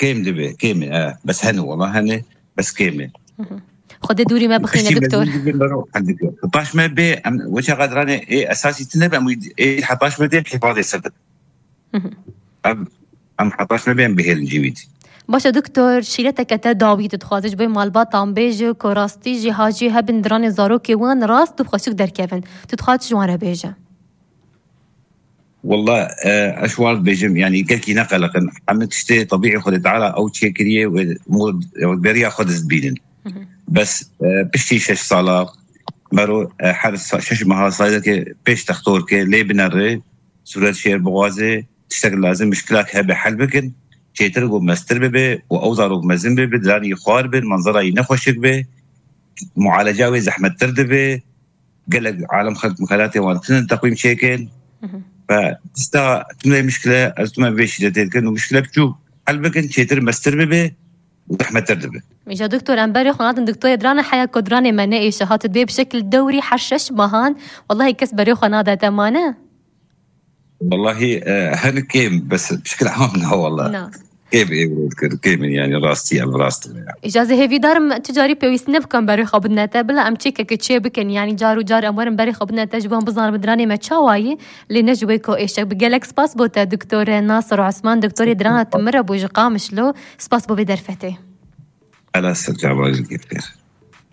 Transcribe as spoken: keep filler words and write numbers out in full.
Kêm dibe, kêm e, e, bes hene, wala hene, bes kêm e. Xwedê dûrî me bixîne, Piştî doktor. Mezin dibe, mero hende ke. Paş me bê, em weça qedranê ê esasî tine be, em wî-, ê hepaş me dê hifadê ser dibe. Em, em hepaş me bê, em bihêlin cî wî dî. Baş e doktor, şîreteke te dawî tu dixwazî ji bo malbatan bêje ku rastî jî hacî hebin diranê zarokê wan rast û xweşik derkevin. Tu dixwazî ji wan re bêje? Wallah, e, ez ji wan dibêjim, yanî gelkî neqeliqin. Hemî tiştê tebîî Xwedê Teala ew çêkiriye wê mû-, wê beriya xwe dibînin. Bes, e, piştî şeş sala, mero, e, her sa-, şeş meha saydeke pêş textor ke lê binere, sûret şêr bixwaze, tiştek lazim, mişkilak hebe hel bikin, çêtir û mestir bibe û ew zarok mezin bibe, diranî xwar bin, manzerayî nexweşik be, mualeca wê zehmettir dibe, gelek alem xelk mixelatê wan tinin teqwîm çêkin. Ve tişta tune mişkile, ez tune vê şîretê dikin û mişkile biçûk hel bikin, çêtir mestir bibe û zehmettir dibe. Îja doktor, em berê xwe nadin doktorê dirane heya ku diranê me neêşe, hat dibê bi şekil dewrî her şeş mehan, wellahî kes berê xwe nade, te mane? Wellahî, e, hene kêm, bes bi şekil am na, wallah. Na. Kêm ê wê dikir, kêm in, yanî rastî, em rast in ya. Îja ez ê hêvîdar im tu carî pêwîstî nebikan berê xwe bidine te, bila em çêkeke çê bikin, yanî car û car em werin berê xwe bidine te ji bo em bizanin bi diranê me çawa yî, lê ne ji wê ku êşek bi. Gelek spas bo te doktor Nasir Osman, doktorê dirana tu min re bû ji Qamişlo, spas bo vê derfetê. Ela ser çavan jî dikir.